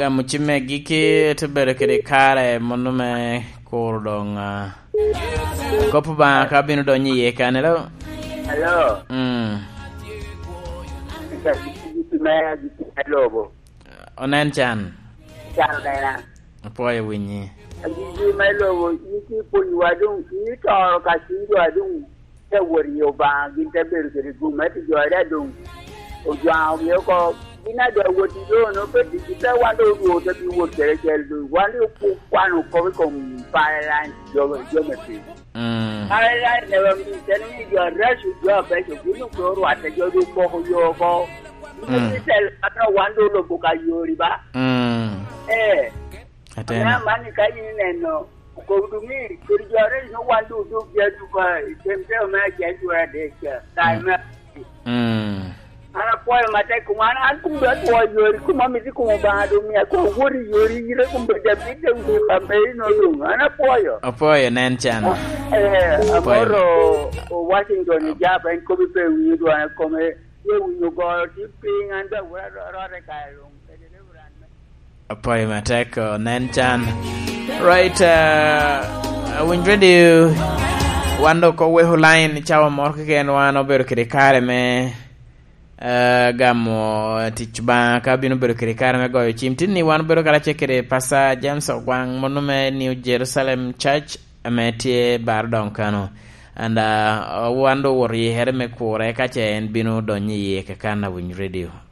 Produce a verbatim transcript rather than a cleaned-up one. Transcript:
Gamo cimme giki, te bedo kede kare mono me kuro doŋ, ah, kop Obaŋa ka bino donyo iye kan. Hello? Hello. Mm. Ika giki me, giki me lobo. Onen can. Can onena. Apwoyo winyi. Agiki me lobo, in ki pwonyowa doŋ, in itoro ka cunyo adoŋ. Te wot i Obaŋa, gin te bedo kede gum, ento jo a doŋ ojwaŋogi oko, gin a doŋ awot i lono, pe ticgi, pe wan doŋ odwogo te bi wot kede acel doŋ. Wan doŋ okwano kop i kom Paralyze jo, jo me piny. Mm. Paralyze ne wamiyo teni ni jo areco, jo abeco, gin doŋ pe orwatte, jo doŋ opoko yo oko. Mm. Gin i tel mano wan doŋ olobo ka yori ba. Mm. Eh. Atena. Ame amanni ka in ineno, okobo doŋ ni, kede jo aryo no wan doŋ odok gi aduka i tem teo me acel dwe adek ca, kae Mm. me Mm. An apwoyo matek kom an, an kom doŋ atwo yori, kom amito kom Obaŋa doŋ mia kom awot i yori, ire kom bedo abit doŋ wi pameri no doŋ. An apwoyo. Apwoyo, nen can. Eh, Apwoyo. Amoro o Washington i Jap, en kop ipe winyo dwon kome, ye winyo goro tye piny, an doŋ awot arot i kare luŋ. Apwoyo matek, oh, nen can. Right, uh, Awiny Radio, wan dok oweko line cawa moro keken, wan obedo kede kare me, uh, gamo tic Obaŋa ka bino bedo kede kare me goyo cim. Tin ni wan obedo karacel kede Pastor James Ogwaŋ, mono me New Jerusalem Church, ame tye bar doŋ kano. And, uh, wan doŋ owoto i here me kure ka ce en bino donyo iye kakan Awiny Radio.